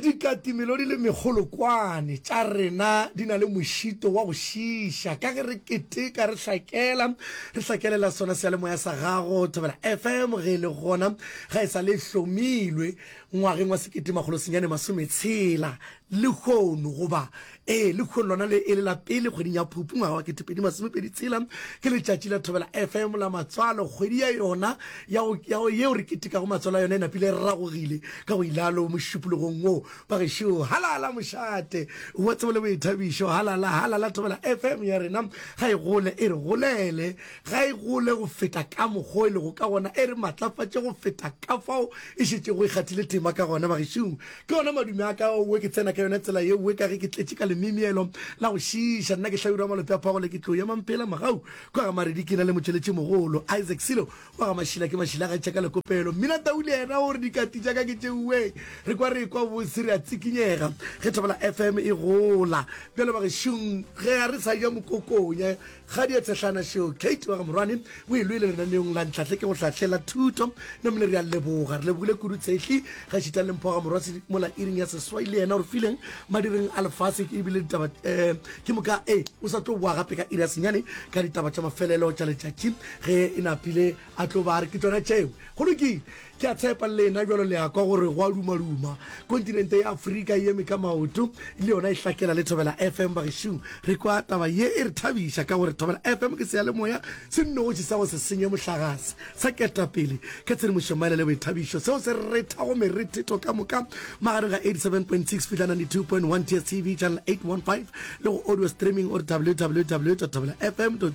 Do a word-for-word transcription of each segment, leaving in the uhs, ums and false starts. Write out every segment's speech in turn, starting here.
Dikatimelo di le mekgolokwane tša rena di na le mošito wa go šiiša ka ge re keteka re hlakela re hlakelela sona seyalemoya sa gago Thobela F M ge e le gona ga e sa le hlomilwe ngwageng wa sekete makgolo senyane masometshela lehono goba ee lehono lona le e le la pele kgweding ya Phupu ngwaga wa ketepedi masomepedi tshela ke letšatši la Thobela F M la matswalo. Kgwedi ya yona ya yeo re ketekago matswalo a yona e napile e ragogile ka go ilalo mošupologong wo bagešo. Halala mošate wa tsebo le boithabišo, halala halala. Thobela F M ya rena ga e gole e re golele, ga e gole go feta ka mokgwa e lego ka gona, e re matlafatše go feta ka fao e šetšego e kgathile tema ka gona. Bagešong, ke yona madume a ka owe ke tsena ka yona tsela yeowe ka ge ke tletše ka lemimielo la go šiiša. Nna ke Hlabirwa Malope a Phagole, ke tlo ya Mampela Mogau kwa ga Maredi, ke na le motšweletši mogolo Isaac Silo wa ga Mašila, ke Mašila ga tšeka lekopelo mmina tau le yena gore dikati tša ka ke tšeuwe re kwa re kwa bose re a tsikinyega ge Thobela F M e gola bjalo. Bagešong, ge a re sa ja mokokonya ga di a tshehlana šeo Kate wa ga Morwane o e lwele lenaneong la Ntlhahle ke go hlahlela thuto namile. Re a leboga, re lebogile kudu Tshehli ga šita le Mpho ga Morwa mola iring ya seswai le yena gore fileng madireng a lefase ebile ditaba um ke moka e o sa tlo boa gape ka iri ya senyane ka ditaba tša mafelelo tša letšatši ge e napile a tlo ba re ke tsona tšeo. Go lokile, ke a tshepa lena jalo le ya kwa gore go a dumaduma kontinente ya Afrika e eme ka maoto le yona e hlakela le Thobela F M. Bagešong, re kwa taba ye e re thabiša ka gore Thobela F M ke seyalemoya se nnoši sa go se senye mohlagase sa ketapele ka tshedimošo maele le boithabišo seo se rethago merethetho ka moka magareng ga eighty-seven point six fihla ninety-two point one D S T V channel eight one five le go audio streaming or W W W thobela F M co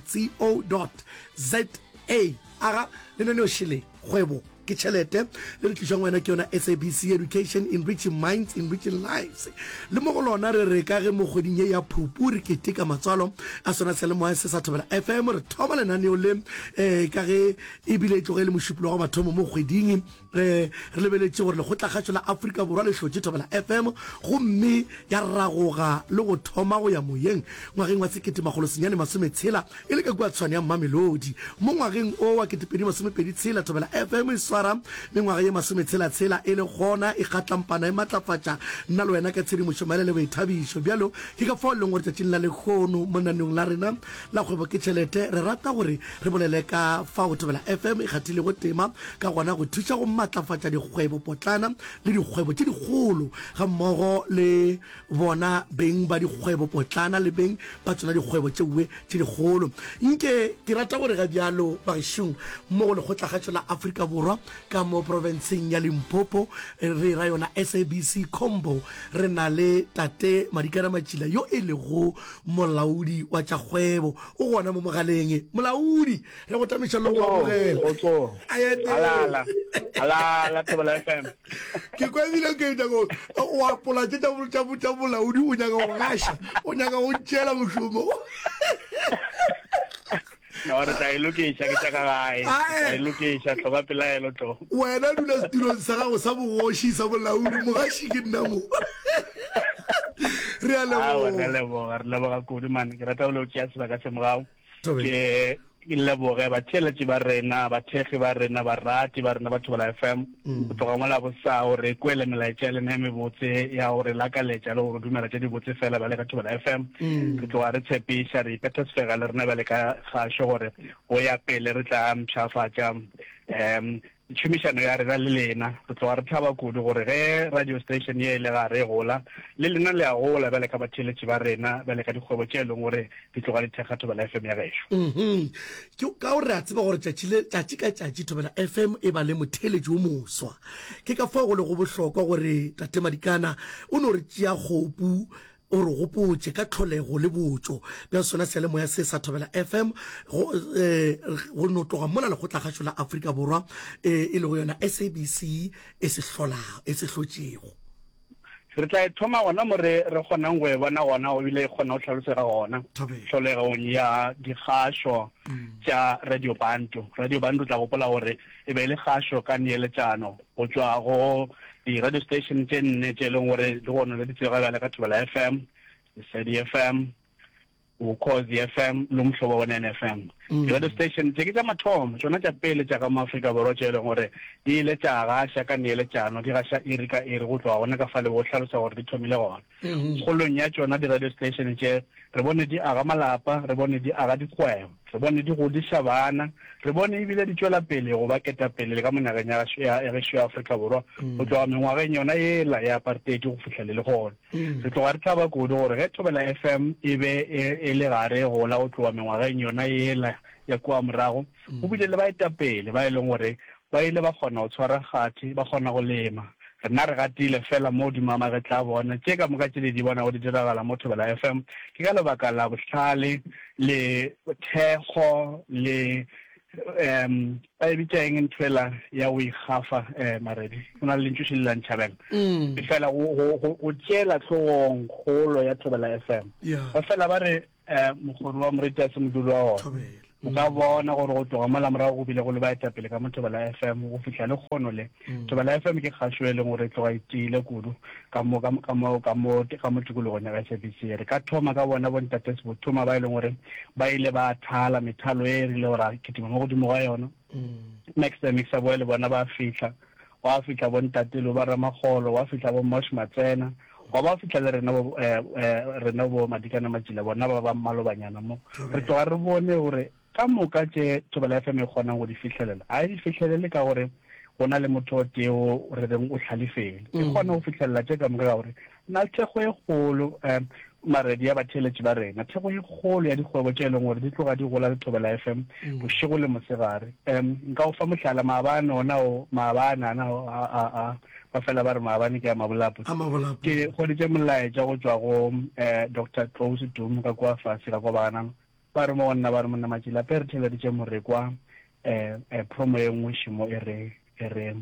za. Aga lenaneo šele Kgwebo ke Tšhelete le re tlišang wena ke yona S A B C Education, enriching minds, enriching lives. Le mo go lona re re ka ge mo kgweding ye ya Phupu re keteka matswalo a sona seyalemoya se sa Thobela F M, re thoma lenaneo le um ka ge ebile e tloge e le mošupologo wa mathomo mo kgweding um re lebeletše gore Lekgotlakgašo la Afrika Borwa le hlotše Thobela F M gomme ya ragoga le go thoma go ya moyeng ngwageng wa sekete makgolo senyane masometshela e le ka kua Tshwane ya Mamelodi. Mo ngwageng o wa ketepedi masomepedi tshela Thobela F M e swara mengwaga ye masometshela-tshela e le gona e kgatlampana e matlafatša nna le wena ka tshedimošo maele le boithabišo. Bjalo ke ka fao e leng gore tšatšing la lehono mo lenaneong la rena la Kgwebo ke Tšhelete re rata gore re bolele ka fao Thobela F M e kgathilego tema ka gona go thuša go matlafatša dikgwebo potlana le dikgwebo tše dikgolo ga mmogo le bona beng ba dikgwebo potlana le beng ba tsona dikgwebo tšeue tše dikgolo. Nke ke rata gore ga bjalo bagešong mo go Lekgotlakgašo la Afrika Borwa ka mo profenseng ya Limpopo, re ra yona S A B C Combo, re na le tate Madikana Matšila yo e lego molaodi wa tša kgwebo. O gona mo mogaleng. Molaodi, re go tamiša le go amogela. Alala alala Thobela F M. Ke kwa ebile ke nyaka o apola tše tša bolaodi, o nyaka go gaša, o nyaka go ntšeela mošomo. No, re tla e lokiša, ke tša ka gae. Tla e lokiša, hloka pelaelo tlo. Wena dula setulong sa gago sa bogoši sa bolaodi, mogaši ke nna mo. Re a leboga. Re a leboga, re leboga kudu man. Ke rata go le tšea sebaka se morago. Ke ke leboge batheeletši ba rena, bathekgi ba rena, barati ba rena ba Thobela F M. Go tloga mola bosa gore kwele melaetša ya lena e mebotse ya gore lakaletša le gore dumela tše dibotse fela bjale ka Thobela F M. Re tloga re tshepiša, re ipetha sefega le rena bjale ka kgašo gore go ya pele re tla mpshafatša um tšhomišano ya rena le lena. Re tloga re thaba kudu gore ge radio station ye e le gare e gola, le lena le a gola bjale ka batheeletši ba rena, bjale ka dikgwebo tše e leng gore di tloga di thekga Thobela F M ya gešo. Mhm. Ke ka gore re a tseba gore tšatši le tšatši ka tšatši Thobela F M e ba le motheeletši o moswa. Ke ka fao go lego bohlokwa gore tate Madikana o no re tšea kgopu o re gopotše ka tlholego le botšo bja sona seyalemoya se sa Thobela F M go, eh, go no tloga mola Lekgotlakgašo la Afrika Borwa eh, e lego yona S A B C e se hlolago, e se hlotšego. Re tla e thoma gona mo re re kgonang go e bona gona ebile e kgona go tlhalosega gona. Thobela. Tlholegong ya dikgašo tša Radio Bantu. Radio Bantu tla gopola gore e be e le kgašo ka neeletšano go tšwa go di-radio station tše nne tše e leng gore le gona le di tsebega bjale ka Thobela F M, Lesedi F M, Ukhozi F M le Umhlobo Wenene F M. Di-radio station tše ke tša mathomo, tšona tša pele tša ka mo Afrika Borwa tše e leng gore di ile tša gaša ka neeletšano, di gaša iri ka iri go tloga gona ka fale bo hlalosa gore di thomile gona. Kgolong ya tšona di-radio station tše re bone di aga malapa, re bone di aga dikgwebo, re bone di godiša bana, re bone ebile di tšwela pele go ba ketapele le ka mo nageng ya gašo ya gešo ya Afrika Borwa go tloga mengwageng yona yela ya apartheid go fihla le lehono. Re tloga re thaba kudu gore ge Thobela F M e be e, e le gare e gola go tloga mengwageng yona yela ya kua morago, go bile le baetapele ba e leng gore ba ile ba kgona go tshwara kgathi, ba kgona go lema. Rena re gatile fela mo godimo ga magetla a bona. Tše ka moka tše le di bonago di diragala mo Thobela F M ke ka lebaka la bohlale le thekgo le um ba e bitša eng ntho ela ya go ikgafa um Maredi? Go na le lentšu šele la ntšhabela. Fela go, go, go, go tšeela hlogong kgolo ya Thobela F M. Ba fela ba re um mokgoro wa moreti a se moduli wa ona. O ka bona gore go tloga mola morago go bile go le baetapele ka mo Thobela F M go fihla lekgono le. Thobela F M ke kgašo e leng gore e tloga e tiile kudu ka mo, ka mo, ka mo, ka mo, ka mo tikologong ya S A B C. Re ka thoma ka bona bo Ntate Sebothoma ba e leng gore ba ile ba thala methalo e rile gore a kitima mo godimo ga yona. Max the Mixer boy le bona ba fihla. Wa fihla bo Ntate Lo ba Ramagolo, wa fihla bo Mosh Matsena, wa ba fihla le rena bo, eh, eh, rena bo Madikana Matšila, bona ba ba mmalobanyana mo. Re tloga re bone gore ka moka tše Thobela F M e kgonang go di fihlelela, ga e di fihlelele ka gore go na le motho o tee o re reng o hlalefele. E kgona go fihlelela tše ka moka ka gore na le thekgo e kgolo, eh, maredi ya batheeletši ba rena, thekgo e kgolo ya dikgwebo tše e leng gore di tloga di gola le Thobela F M bošego le mosegare. Um, nka go fa mohlala, maabane ona o, maabane ana o, a, a, a, ba fela ba re maabane ke a mabolapo. A mabolapo. Ke hweditše molaetša go tšwa go, eh, Doctor Tlou Setumu ka kua fase ka kwa Baganang. Ba re mo go nna, ba re monna Matšila, pe re theeleditše morekwa, eh, eh, promo ye nngwe šemo e re, e re,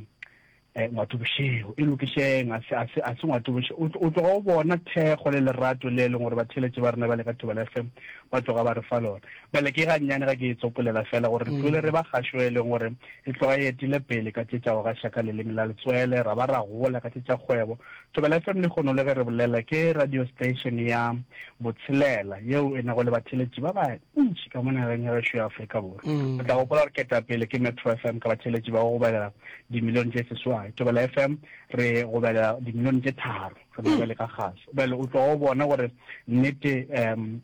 eh, ngwato bošego, e lokišeng, a se, a se, a se ngwato bošego. O tlo, o tloga o bona thekgo le lerato le e leng gore batheeletši ba rena ba le ka Thobela F M ba tloga ba re fa lona. Bjale ke gannyane ga ke e tsopolela fela gore re tlogele re ba kgašo e leng gore e tloga e etile pele ka tše tša go gaša ka leleme la letswele, ra ba ra gola ka tše tša kgwebo. Thobela F M lehono le ge re bolela ke radio station ya botshelela yeo e nago le batheeletši ba bantši ka mo nageng ya gešo ya Afrika Borwa. O tla gopola gore ketapele ke Metro F M ka batheeletši ba go gobelela dimilione tše seswai. Thobela F M re gobelela dimilione tše tharo re na bjale ka kgašo. Bjale o tloga o bona gore nnete um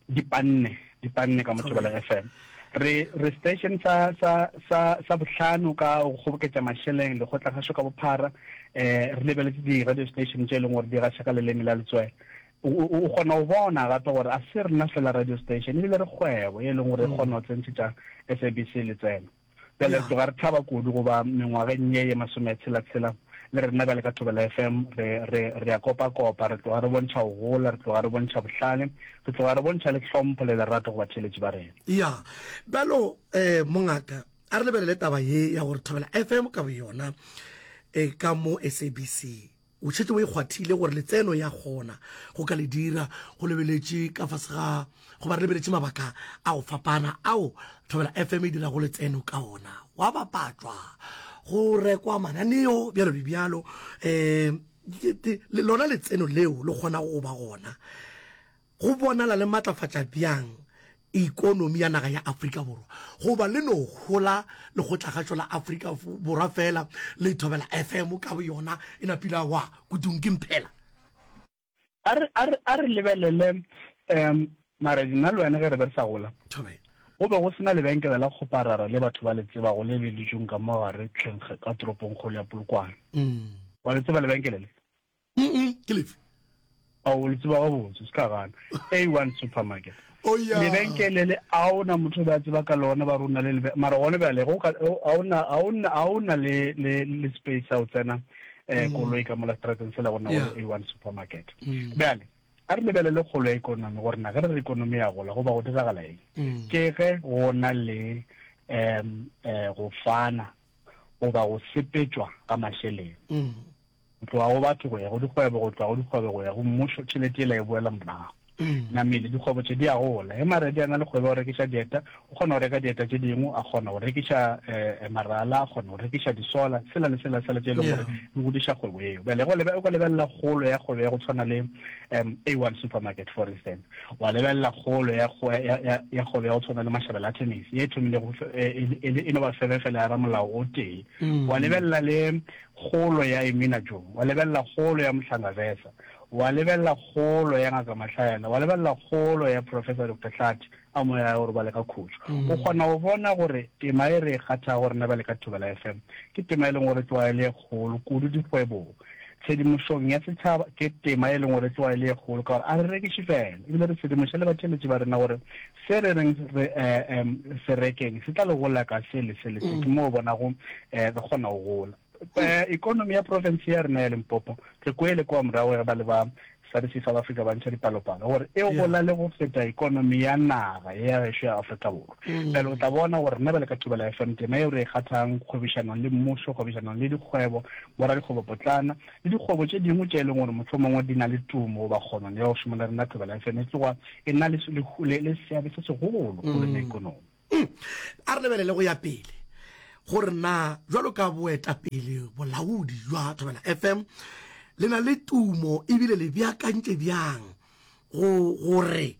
di panne, di panne ka mo Thobela F M. Re, re station sa, sa, sa, sa bohlano ka go kgoboketša mašeleng lekgotlakgašo ka bophara, eh, re lebeletše di-radio station tše e leng gore di gaša ka leleme la letswele. O, o, o kgona go bona gape gore a se rena fela radio station, ebile re kgwebo e leng gore e kgona go tsentšhetša S A B C letseno. Bjale re tloga re thaba kudu goba mengwageng ye ye masometshela-tshela le rena bjale ka Thobela F M re, re, re a kopa-kopa, re tloga re bontšha go gola, re tloga re bontšha bohlale, re tloga re bontšha le hlompho le lerato go batheeletši ba rena. Ya, bjalo, eh, mongaka, a re lebelele taba ye ya gore Thobela F M ka boyona, eh, ka mo S A B C o šetše o e kgwathile gore letseno ya kgona go ka le dira go lebeletše ka fase ga goba re lebeletše mabaka a go fapana ao Thobela F M e dirago letseno ka ona, wa bapatšwa, go rekwa mananeo bjalo le bjalo, eh, lona letseno leo le kgona go ba gona go bonala le matlafatša bjang ikonomi ya naga ya Afrika Borwa, goba le no hola lekgotlakgašo la Afrika Borwa fela le Thobela F M ka boyona e napile wa kutung ke mphela. A re, a re, a re lebelele, um, Maredi, nna le wena ge re be re sa gola, Thobela. go be go sena lebenkele la kgoparara le batho ba le tsebago le le dutšeng ka mo gare tlheng ka toropong kgolo ya Polokwane. Wa le tseba lebenkele le? Mm-mm, ke lefe? Ao, le tseba gabotse, se ka gana. A one Supermarket. Oh, yeah. Lebenkele le, a ona motho ba tseba ka lona, ba rona le lebe-, mara gona bjale, go ka, a ona, a ona, a ona le, le, le space sa go tsena, eh, Mm. koloi ka mola strateng sela go na Yeah. go A one Supermarket. Mm. Bjale, a re lebelele kgolo ya ikonomi gore na ge re re ikonomi ya gola go ba go diragala eng. Mm. Ke ge go na le, um, eh, go fana goba go sepetšwa ka mašeleng. Mm. Go tloga go batho go ya go dikgwebo, go tloga go dikgwebo go ya go mmušo, tšhelete ela e boela morago. Namile dikgwebo tše di a gola. Ge Maredi a na le kgwebo ya go rekiša dieta, o kgona go reka dieta tše dingwe, a kgona go rekiša eh, marala, a kgona go rekiša disola, sela le sela sela tše e leng gore di godiša kgwebo eo. Bjale ge o ka lebelela kgolo ya kgwebo ya go tshwana le um A one Supermarket for instance, wa lebelela kgolo ya ya kgwebo ya go tshwana le Mashabela a Tennis ye e thomilego e no ba febe fela ya ramolao o tee, wa lebelela le kgolo ya Emina Joe, wa lebelela kgolo ya Mohlangavesa, wa lebelela kgolo ya Ngaka Mahlaela, wa lebelela kgolo ya Professor Doctor Hlathi a moya ya gore ba le ka khutšo. O kgona go bona gore tema e re e kgathago rena bjale ka Thobela F M ke tema e leng gore tloga e le e kgolo kudu dikgwebong. Tshedimošong ya setšhaba ke tema e leng gore tloga e le e kgolo ka gore a re rekiše fela, ebile re tshedimoša le batheeletši ba rena gore se re reng re se rekeng se tla le gola ka se le se le se. Ke mo o bonago re kgona go gola. Ekonomi ya profense ya rena ya Limpopo, re kwele kua morago ge ba le ba S A D C South Africa ba ntšha dipalopalo gore e gola le go feta ekonomi ya naga ye ya gešo ya Afrika Borwa. Bjale o tla bona gore rena bjale ka Thobela F M tema yeo re e kgathang kgwebišanong le mmušo, kgwebišanong le dikgwebo, boradikgwebopotlana le dikgwebo tše dingwe tše e leng gore mohlomongwe di na le tumo goba kgono ya go šoma le rena, Thobela F M e tloga e na le le seabe se segolo kgolong ya ekonomi. A re lebelele go ya pele gore na jwalo ka boetapele bolaodi jwa Thobela F M le na le tumo ebile le beakantše bjang go gore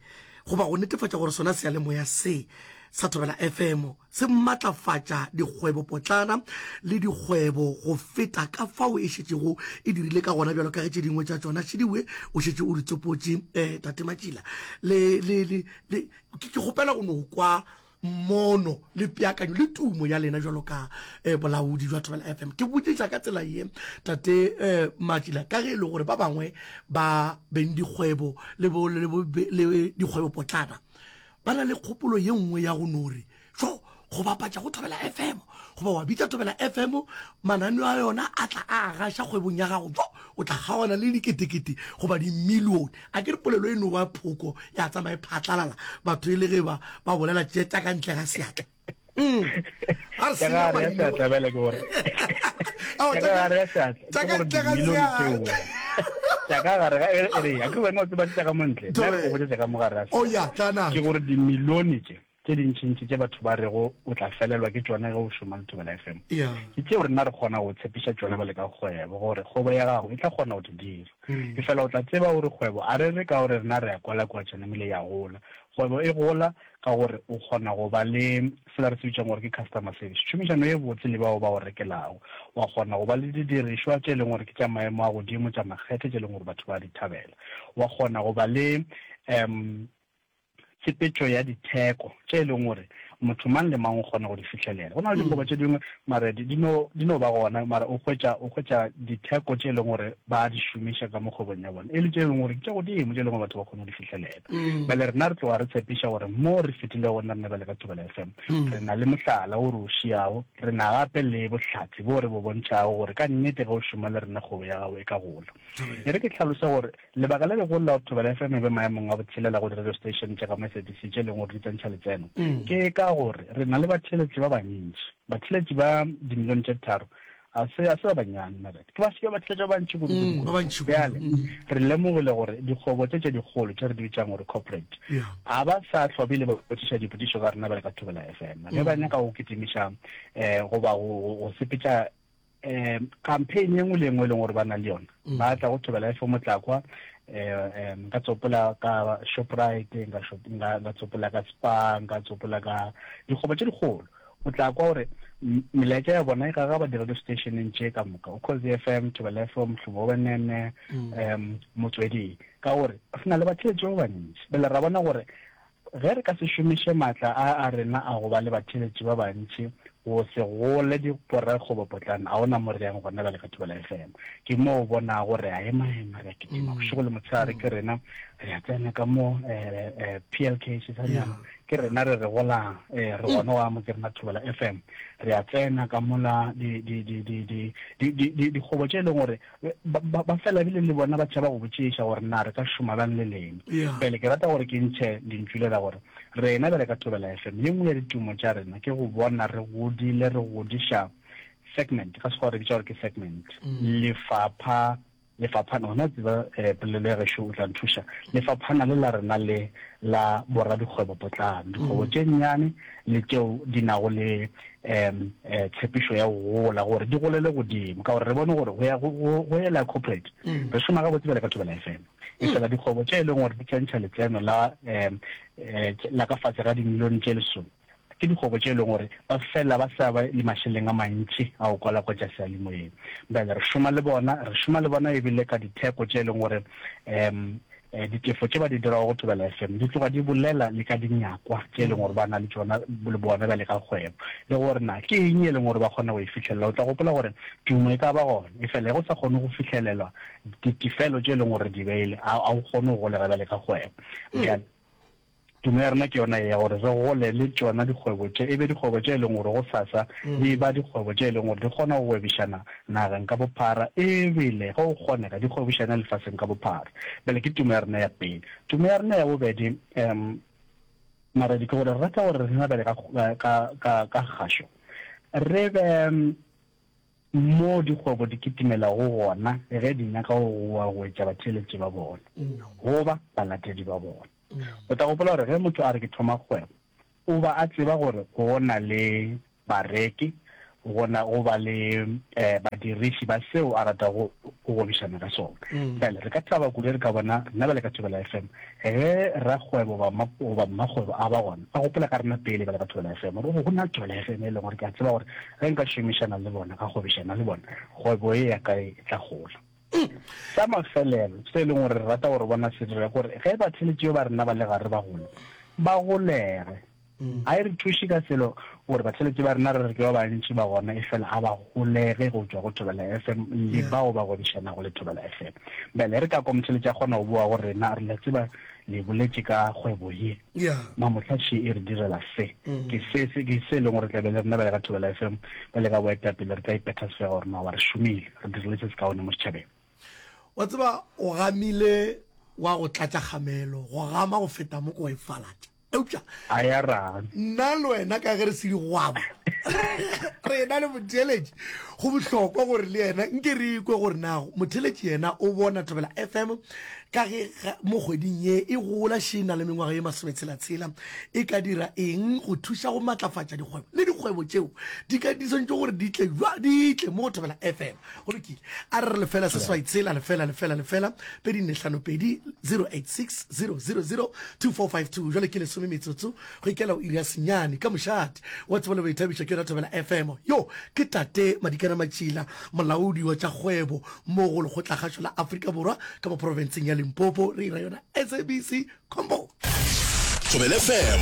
goba go netefatša gore sona seyalemoya se sa Thobela F M se matlafatša dikgwebo potlana le dikgwebo go feta ka fao e šetšego e dirile ka gona, bjalo ka ge tše dingwe tša tšona šidiwe o šetše o di tsopotše um tate Matšila. Le le le le ke kgopela go no kwa mmono le peakanyo le tumo ya lena jwalo ka eh, bolaodi jwa Thobela F M. Ke botšiša ka tsela ye tate eh, Matšila, ka ge e le gore ba bangwe ba beng dikgwebo le bo le bo le dikgwebo potlana ba na le kgopolo ye nngwe ya go no re jo go bapatša go Thobela F M goba wa bitša Thobela F M, mananeo a yona a tla a gaša kgwebong ya gago, jo o tla kgaogana le diketekete goba dimilione. A ke re polelo e no ba phoko ya tsamaye phatlalala batho e le ge ba ba bolela tše tša ka ntle ga seatla. Mm. A re senya Tša gare maina. seatla bjale ke gore. Ao, Tša tša ka ka gare ga seatla, tša ke ka gore ntle ga dimilione tšeo. seatla. Tša ka gare ga e re a ke wena o tseba tša ka mo ntle. Nna ke go botša tša ka mo gare ga Oh seatla. ya, tla na. Ke gore dimilione tše tše dintšintši tše batho ba rego o tla felelwa ke tšona ge o šoma le Thobela F M. Yeah. Ke tšeo rena re kgona go tshepiša tšona bjale ka kgwebo gore kgwebo ya gago e tla kgona go di dira. E fela o tla tseba gore kgwebo a re re ka gore rena re a kwala kua tšona ebile ya gola. Kgwebo e gola ka gore o kgona go ba le sela re se bitsang gore ke customer service, tšhomišano ye botse le bao ba o rekelago. Wa kgona go ba le didirišwa tše e leng gore ke tša maemo a godimo, tša makgethe tše e leng gore batho ba di thabela. Wa kgona go ba le um tshepetšo ya ditheko tše e leng gore motho mang le mang o kgona go di fihlelela. Go na le dikgoba tše dingwe mara di no di no ba gona, mara o hwetša o hwetša ditheko tše e leng gore ba di šomiša ka mo kgwebong ya bona e le tše e leng gore ke tša godimo, tše e leng gore batho ba kgone go di fihlelela. Bjale rena re tloga re tshepiša gore mo re fetilego gona rena bjale ka Thobela F M re na le mohlala o re o šiago, re na gape le bohlatse bo re bo bontšhago gore ka nnete ge o šoma le rena kgwebo ya gago e ka gola. E re ke tlhalose gore lebaka le legolo la gore Thobela F M e be maemong a botshelela go di-radio station tša ka mo S A B C tše e leng gore di tsentšha letseno ke ka gore re na le batheeletši ba bantši. Batheeletši ba dimilione tše tharo a se a se ba bannyane, Marete. Ke ba se batheeletši ba bantši kudu kudu Ba bantši kudu. Bjale re lemogile gore dikgwebo tše tše dikgolo tše re di bitsang gore corporate a ba sa hlwa bile ba botšiša dipotšišo ka rena bjale ka Thobela F M. Ge ba nyaka go kitimiša um goba go sepetša um campaign ye nngwe le nngwe e leng gore ba na le yona, ba tla go Thobela F M o tla kwa um nka tsopola ka Shoprite, nka nka tsopola ka Spar, nka tsopola ka dikgwebo tše dikgolo. O tla kwa gore melaetša ya bona e gagaba di-radio stationeng tše ka moka, Ukhozi F M, Thobela F M, Mhlobo Wenene, um Motsweding, ka gore re na le batheeletši ba bantši. Bjale ra bona gore ge re ka se šomiše maatla a a rena a go ba le batheeletši ba bantši go se gole diporakgwebopotlana, a ona mo re yang gona bjale ka Thobela F M. Ke mo o bona gore a ema ema re a kitima bošego le motshegare, ke rena re a tsena ka mo P L K sesanyana, ke rena re re golang re gona wa mo ke rena Thobela F M, re a tsena ka mola di di di di di di di dikgwebo tše e leng gore ba fela bile le bona ba tšhaba go botšiša gore na re ka šoma bjang le lena. Pele ke rata gore ke ntšhe lentšu le la gore rena bjale ka Thobela F M ye nngwe ya ditumo tša rena ke go bona re godile re godiša segment, ka Sekgowa re bitša gore ke segment, lefapha Lefaphana, gona tseba eh, polelo ya gešo o tla nthuša, lefaphana le la rena le la boradikgwebopotlana, dikgwebo tše nnyane le tšeo di nago le um tshepišo ya go gola gore di golele godimo, ka gore re bone gore go ya go go ela corporate re šoma gabotse bjale ka Thobela F M. E fela dikgwebo tše e leng gore di tsentšha letseno la um la ka fase ga dimilione tše lesome ke dikgwebo tše e leng gore ba fela ba sa ba le mašeleng a mantši a go kwalakwatša seyalemoyeng. Bjale re šoma le bona, re šoma le bona ebile ka ditheko tše e leng gore um ditefo tše ba di dirago go Thobela F M di tloga di bolela le ka dinyakwa tše e leng gore ba na le tšona le bona bjale ka kgwebo, le gore na ke eng e leng gore ba kgona go e fihlelela. O tla gopola gore tumo e ka ba gona, e fela ge go sa kgone go fihlelelwa ditefelo tše e leng gore di beile, a o kgone go golega bjale ka kgwebo. Bjale tumo ya rena ke yona ye ya gore re gole le tšona dikgwebo tše, e be dikgwebo tše e leng gore gosasa di ba dikgwebo tše e leng gore di kgona go gwebišana nageng ka bophara, ebile ge go kgonega di gwebišane lefaseng ka bophara. Bjale ke tumo ya rena ya pele. Tumo ya rena ya bobedi, um Maredi, ke gore re rata gore rena bjale ka, ka, ka, ka kgašo re be mo dikgwebo di kitimelago gona ge di nyaka go goa go etša batheeletši ba bona goba balatedi ba bona. O tla gopola gore ge motho a re ke thoma kgwebo, o ba a tseba gore go na le bareki, go na go ba le eh, badiriši ba seo a ratago go gwebišana ka sona. Bjale re ka thaba kudu re ka bona rena bjale ka Thobela F M ge rakgwebo goba mmakgwebo a ba gona, a gopola ka rena pele bjale ka Thobela F M, gore go na le Thobela F M e leng gore ke a tseba gore ge nka šomišana le bona, ka gwebišana le bona, kgwebo ye ya ka e tla gola. Sa mafelelo se e leng gore re rata gore bona se dira gore ge batheletši ba rena ba le gare ba gola, ba golege. Ga e re thuše ka selo gore batheletši ba rena re re ke ba bantši ba gona, e fela a ba golege go tšwa go Thobela F M le bao ba gwebišanago le Thobela F M. Bjale re ka kwa motheletši a kgona go boa go rena, re le tseba le boletše ka kgwebo ye, mamohla še e re direla se, ke se se ke se e leng gore tlabe le rena bjale ka Thobela F M bjale ka boetapele re tla ipetha sefega gore maoba re šomile, re dirile se se kaone mo setšhabeng. Wa tseba o gamile wa go tlatša kgamelo, go gama go feta mo ko wa e falatša. Eupša a ya rang nna le wena ka ge re se digwaba re ena le motheeletši, go bohlokwa gore le yena nke re ikwe gore na motheeletši yena o bona Thobela F M ka ge mo kgweding ye e gola še na le mengwaga ye masometshela-tshela, e ka dira eng go thuša go matlafatša dikgwebo le dikgwebo tšeo di ka di swantše gore di tle jwa di tle mo go Thobela F M. Go lokile, a re re lefela seswai tshela lefela lefela lefela pedi nne hlano pedi zero eight six zero zero zero two four five two. Jwale ke lesome metsotso go ikela o iri ya senyane ka mošate wa tsebo le boithabišo ke yona Thobela F M. Yo ke tate Madikana Matšila, molaodi wa tša kgwebo mo go Lekgotlakgašo la Afrika Borwa ka mo profenseng ya Limpopo. Re ira yona S A B C Combo. Thobela F M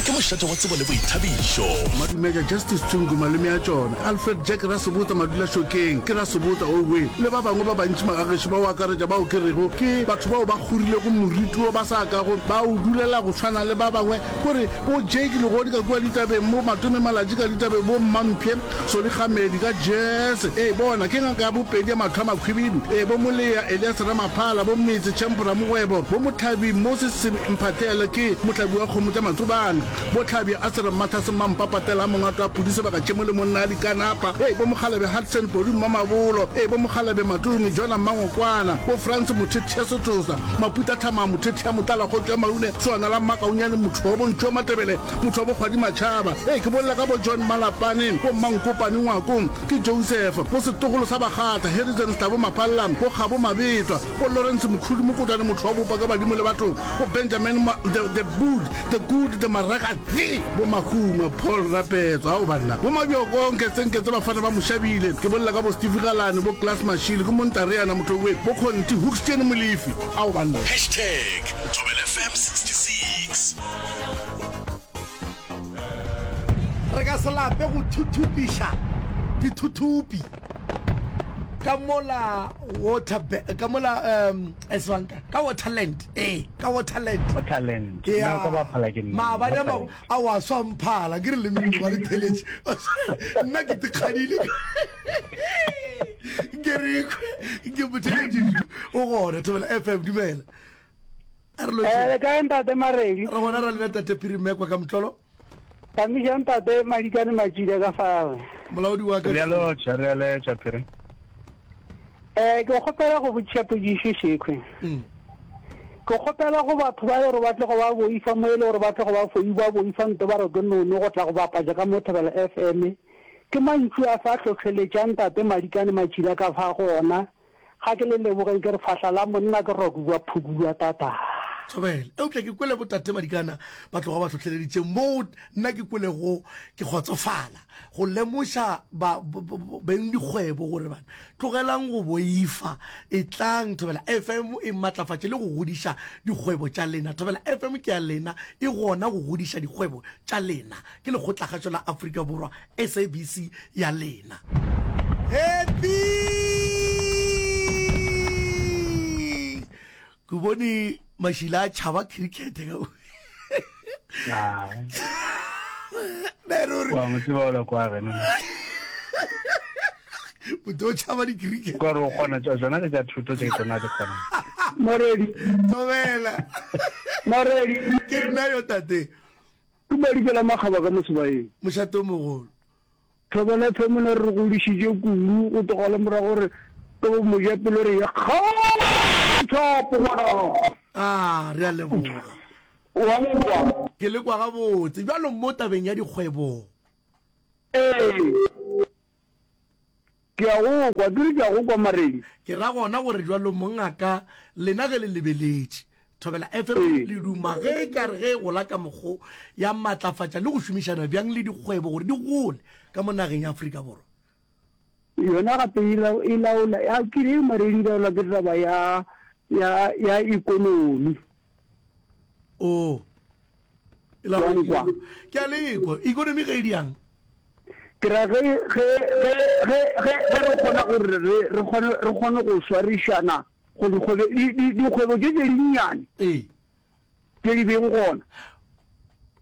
ke mošate wa tsebo le boithabišo. Madumeja Justice Tshungu malome a tšona, Alfred Jack Rasebotsa Madulašokeng ke Rasebotsa Owe le ba bangwe ba bantši magagešo ba o akaretša bao ke rego ke batho bao ba kgorilego moriti wo ba sa kago ba o dulela go tshwana le ba bangwe kore bo Jake Legodi ka kua ditabeng bo Matome Malatji ka ditabeng bo Mmamphe Soli Kgamedi ka jazz ee bona ke ngaka ya bopedi ya mahlo a makhwibidu ee bo Molea Elias Ramaphala bo Metse Champ Ramogwebo bo Mothabi Moses Mphahlele ke mohlabi wa kgomo tša Matsobane bo Tlhabja Asere Mmatlhase Mmampa Patela Mongato a Pudi Sebaka Tšhemo le monna a Dikanapa ee bo Mokgalabje Hudson Podi Mmamabolo ee bo Mokgalabje Matome Jona Mmangokwana bo Frans Mothethia Setosa Maputa Thama Mothethia Motlala Kgotšo ya Maune Swana la Mmakaunyane motho wa bo Ntšo Matebele motho wa bo Kgwadi Matšhaba ee ke bolela ka bo John Malapane bo Mmankopane Ngwako ke Joseph bo setlogolo sa Bakgatla Harrison Stabo Mapalla bo Kgabo Mabetwa bo Lawrence Mkhulu Mokotwane motho wa bopa ka badimo le batho bo Benjamin Ma, the, the Good the Good the Maraka the bo Mahuma Paul Rapetso ao banna bo Mabjoko Nketsenketse bafana ba Moshabile ke bolela ka bo Steve Galane bo Klaas Mashile ke Montareana motho we bo Conti Hoekstene Molefi ao banna. Hashtag Thobela F M sixty-six. Re ka se lape go thuthupiša dithuthupi ka mola water ka mola um eswanka ka Waterland ee ka Waterland Waterland yeah. Ka ba phala ke nna maabane a mangwe a wa swa mphala ke re le mmino ba le theletše nna ke tikgadile ke re ke motheletše o gona Thobela F M dumela a re lotše le kae ntate Maredi re gona ra lena tate Phirimekwa ka motlolo Tamiša ntate Madikane Matšila ka fao. Molaodi wa ka. Re a lotšha, re a letša Phiri. Eh, ke kgopela go botšiša potšišo šekhwe. Mm. Ke kgopela go batho ba gore ba tle go ba boifa mo e le gore ba tle go ba foi ba boifa nto ba re ke nono go tla go bapatša ka mo Thobela F M. Ke mantšu a fa hlohleletšang tate Madikane Matšila ka fa go ona. Ga ke le lebogeng ke re fahla la monna ke rokuwa phukulwa tata. Thobela. Eupša ke kwele botate Madikana ba tloga ba hlohleleditše moo nna ke kwelego ke kgotsofala go lemoša ba beng dikgwebo gore bana tlogelang go boifa, etlang Thobela F M e matlafatše le go godiša dikgwebo tša lena. Thobela F M ke ya lena, e gona go godiša dikgwebo tša lena. Ke Lekgotlakgašo la Afrika Borwa, S A B C ya lena. Happy! Ke bone mašila a tšhaba cricket ka ne ruri. Wa mo tseba o la kwa gena. Motho o tšhaba di-cricket. Ka re o kgona tša tsona ke tša thuto tše tsona di kgona. Moredi. Thobela. Moredi. Ke nna yo tate. Ke Madikela Makgaba ka mo Sebaeng. Mošate o mogolo. Thobela F M ne re godišitše kudu go tloga le morago gore ke bo mojapelo re ye kgathapo ngwana. Ah, re a leboga. Wa nkwa? Ke le kwa gabotse. Bjalo mo tabeng ya dikgwebo. Ee. Ke a go kwa, ke re ke a go kwa Maredi. Ke ra gona gore bjalo mongaka lena ge le lebeletše Thobela F M Ee. le duma ge e ka re ge e gola ka mokgo ya matlafatša le go šomišana bjang le dikgwebo gore di gole ka mo nageng ya Afrika Borwa. Yona gape e lau-, e laola, ya ke re Maredi e laolwa ke taba ya, ya, ya ekonomi. O. E Wa laolwa ke nkwa? ekonomi. Ke a le kwa. Ekonomi ge e diang? Ke ra ge, ge, ge, ge, ge, ge re kgona gore re, re kgone, re kgone go swarišana go dikgwebo, di, di, dikgwebo tše tše dinnyane Ee. tše di beng gona,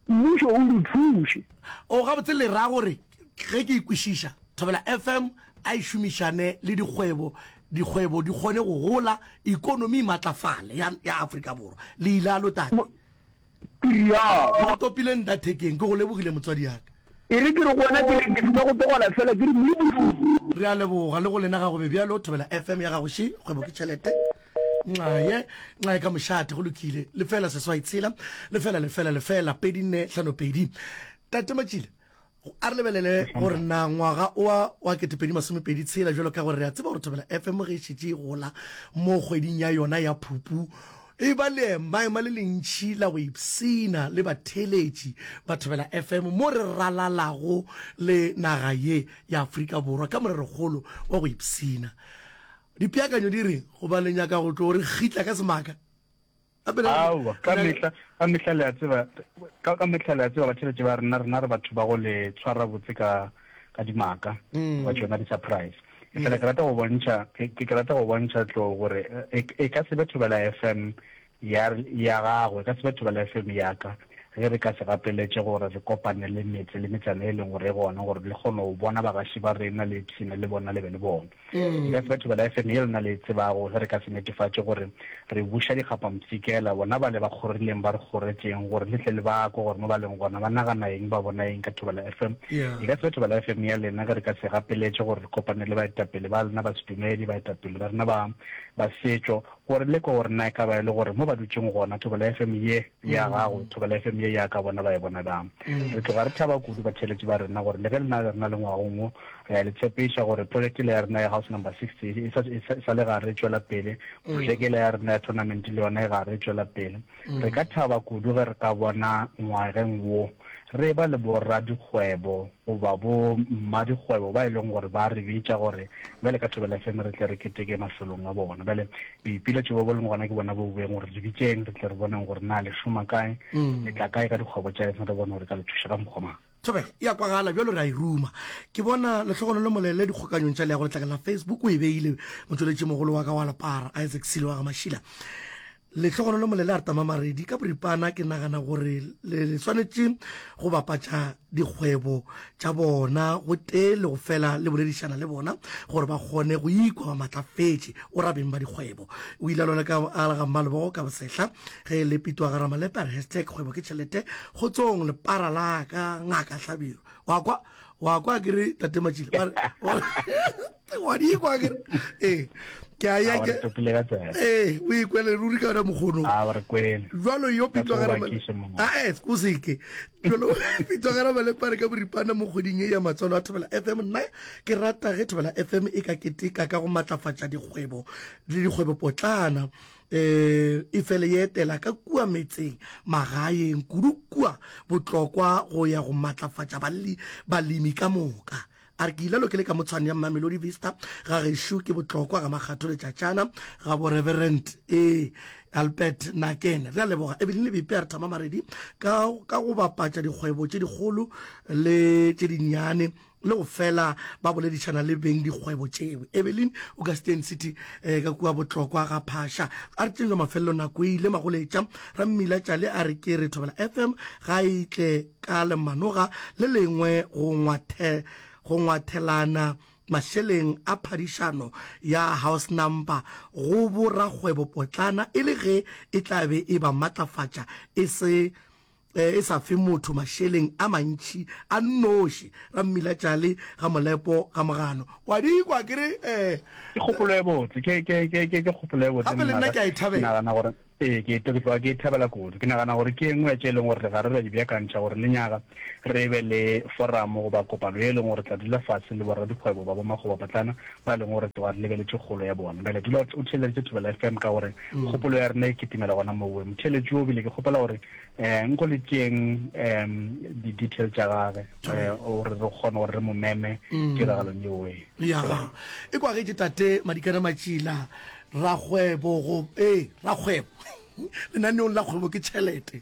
mmušo o di thuše. O gabotse le ra gore ge ke e kwešiša, Thobela F M a e šomišane le dikgwebo, dikgwebo di kgone go gola, ekonomi e matlafale ya, ya Afrika Borwa. Le ilalo tate? Mo, ke realo. O topile nta thekeng, ke go lebogile motswadi ya ka. E re ke re go wena ke re ke fetša go tlogela fela ke re Modimo. Re a leboga le go lena ga go be bjalo. Thobela F M ya gago še, kgwebo ke tšhelete. Nxaye, nxaye ka mošate, go lokile. Lefela seswai tshela, lefela lefela lefela, pedi nne hlano pedi. Tate Matšile, a re lebelele gore na ngwaga oa wa ketepedi masomepedi tshela bjalo ka gore re a tseba gore Thobela F M ge e šetše e gola mo kgweding ya yona ya Phupu e ba leemaema le lentši la go ipshina le batheeletši ba Thobela F M mo re ralalago le naga ye ya Afrika Borwa ka morerokgolo wa go ipshina. Dipeakanyo di reng goba le nyaka go tlo re kgitla ka semaka? Gape le Aowa, ka re mehla, ka mehla le a tseba, ka, ka mehla le a tseba batheeletši ba rena, rena re batho ba go le tshwara botse ka, ka dimaka, goba tšona di-surprise. Efela ke rata go bontšha, ke, ke rata go bontšha tlo gore e, e ka se be Thobela F M ya, ya gago, e ka se be Thobela F M ya ka, ge re ka se gapeletše gore re kopane le metse le metsana e leng gore e gona, gore le kgone go bona bagaši ba rena le ipshine le bona le be le bona. E ka se be Thobela F M ye lena le e tsebago ge re ka se netefatše gore re buša dikgapampshikela bona ba le ba kgorileng ba re kgoretšeng gore le tle le ba kwe gore mo ba leng gona ba nagana eng ba bona eng ka Thobela F M. Yeah. E ka se be Thobela F M ya lena ge re ka se gapeletše gore re kopane le baetapele ba lena ba sedumedi, baetapele ba rena ba, ba setšo, gore le kwe gore na e ka ba e le gore mo ba dutšeng gona Thobela F M ye ya gago, Thobela F M ye ya ka bona ba e bona bjang. Re tloga re thaba kudu batheeletši ba rena gore le ge lena re na le ngwagong wo, re a le tshepiša gore project le ya rena ya house number sixty e sa, e sa, e sa le gare e tšwela pele, projeke le ya rena ya tournament le yona e gare e tšwela pele. Re ka thaba kudu ge re ka bona ngwageng wo re ba le boradikgwebo goba bo mmadikgwebo ba e leng gore ba re bitša gore bjale ka Thobela F M re tle re keteke mafelong a bona. Bjale boipiletšo bo bo leng gona ke bona bo boeng gore re bitšeng re tle re boneng gore na le šoma kae, le tla kae ka dikgwebo tša lena, re bone gore ka le thuša ka mokgwa mang. Thobela e a kwagala bjalo re a e ruma. Ke bona Lehlogonolo Molele dikgokanyong tša leago letlakeng la Facebook o e beile motšweletši mogolo wa ka wa lepara Isaac Silo wa ga Mašila. Lehlogonolo Molele a re tama Maredi ka boripana ke nagana gore le le swanetše go bapatša dikgwebo tša bona go tee le go fela le boledišana le bona gore ba kgone go ikwa ba matlafetše o ra beng ba dikgwebo. O ile a lwala ka a ga Mmalebogo ka bosehla ge e le Pitwa ga Ramalepe a re hashtag kgwebo ke tšhelete kgotsong lepara la ka ngaka Hlabirwa. Wa kwa wa kwa ke re tate Matšile ba re Wa di kwa ke ee ke a ya ke ee o ikwele ruri ka yona mokgono jalo yo pitwagarae o seke jalo pitwagara malepare ka boripana mo kgweding e ya matswalo a Thobela F M. Nna ke rata ge Thobela F M e ka keteka ka go matlafatša dikgwebo le dikgwebopotlana eh e fele ye etela ka kua metseng magaeng kudu kua Botlokwa go ya go matlafatša balemi ka moka. A re ke ile lokele ka motshwane ya Mamelodi Vista ga gešo ke Botlokwa ga Makgatho Letšatšana ga bo Reverend e Albert Nakene. Re a leboga Evelyn Lebepe a re thama maredi ka ka go bapatša dikgwebo tše dikgolo le tše dinnyane le go fela ba boledišana le beng dikgwebo tšeo. Evelyn o ka Steyn City eh, ka kua Botlokwa ga Phasha. A re tšenywa mafelelo nako e ile magoletša Rammila Tšale a re ke re Thobela F M ga e tle ka lemanoga le lengwe go ngwathe go ngwathelana mašeleng a phadišano ya house number go borakgwebo potlana e le ge e tla be e ba matlafatša e se e sa fe motho mašeleng a mantši a nnoši. Rammila Tšale ga Molepo ga Mogano wa di kwa ke re eh ke kgopolo e botse ke ke ke ke ke kgopolo e botse gape le nna ke a e thabela nagana gore ee ke ke tloga ke e thabela kudu. Ke nagana gore ke engwe ya tše e leng gore ga re ra di beakantšha gore lenyaga re be le forum goba kopano e leng gore tla dula fatshe le boradikgwebo ba bomakgwebopotlana ba e leng gore tloga re lebeletše kgolo ya bona. Bjale dula o theeleditše Thobela F M ka gore kgopolo ya rena e kitimela gona mowe. Motheeletši o bile ke kgopela gore um nko le tšeeng um di-detail tša gage gore re kgone gore re mo meme tiragalong yeo e. Ya e kwagetše tate Madikana Matšila rakgwebo go ee rakgwebo lenaneong la kgwebo ke tšhelete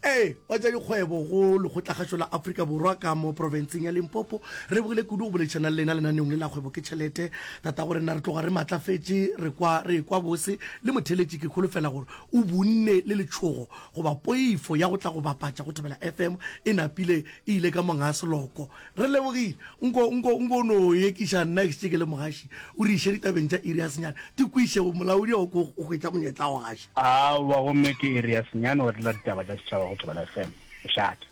ee wa tša dikgwebo go lekgotlakgašo la Afrika Borwa ka mo profenseng ya Limpopo. Re bogile kudu go boledišana le lena lenaneong le la kgwebo ke tšhelete. Tata gore nna re tloga re matlafetše re kwa re kwa bose le motheletši ke kholofela gore o bunne le letšhogo goba poifo ya go tla go bapatša go Thobela F M e napile e ile ka monga seloko. Re lebogile nko nko nko no ekiša nna ke ke le mogaši o re iše ditabeng tša iri ya senyane di kwiše molaodi o ko hwetša monyetla wa gaša. Aowa gomme ke iri ya senyane wa dula ditaba tša setšhaba go Thobela F M. Mošate.